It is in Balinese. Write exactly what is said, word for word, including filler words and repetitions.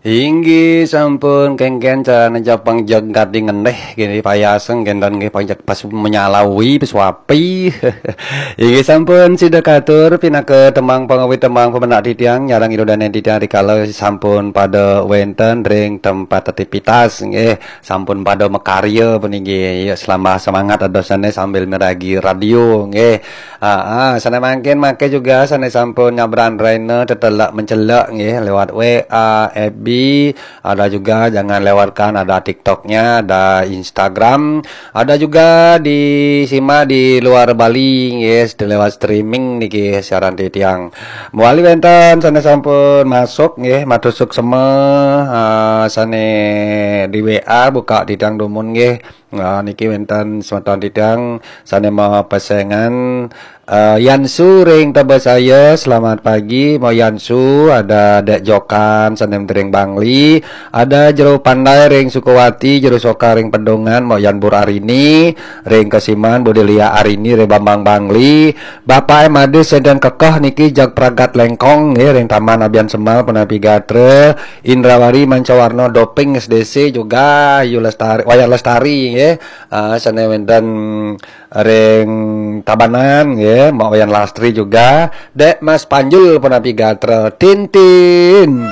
Inggih sampun, kéngkén carané Japang jagat di ngendéh, gini payaseng kénten nggih, pajak pas menyalawi, pas wapi. Inggih sampun, sida katur pinaka tembang pangawit, tembang pamendak titiang, nyarang ida dané titiang rikala sampun pada wénten ring tempat aktivitas nggih, sampun pada makarya puniki. Ya, selambah semangat ada sané sambil miragi radio nggih. Ah, ah, sané mangkin maké juga sané sampun nyabran raina tetelek mencelek nggih lewat W A, F B, ada juga jangan lewatkan ada TikToknya, ada Instagram, ada juga di sima di luar Bali nggih lewat streaming niki siaran titiang. Mawali wénten sané sampun masuk nggih, matur suksma, ah, sané di W A buka titiang dumun nggih. Nah, niki wénten semeton titiang sané mapesengan, eh, Yansu ring Tebesaya, selamat pagi, Mo Yansu, ada Dek Jokan, sané ring Bangli, ada Jero Pandai ring Sukawati, Jero Soka ring Pedungan, Mo Yan Bur Arini, ring Kesiman, Budelia Arini, ring Bambang Bangli, Bapak M Ade Senden Kekeh niki jag pragat lengkong, nggih, ring Taman Abian Semal, Penapi Gatra, Indrawari Mancawarna Doping S D C juga, Yu Lestari, Wayan Lestari, nggih. Ah, sané wénten ring Tabanan, nggih, Mbak Wayan Lastri juga, Dek Mas Panjul Penapi Gatra, Tintin.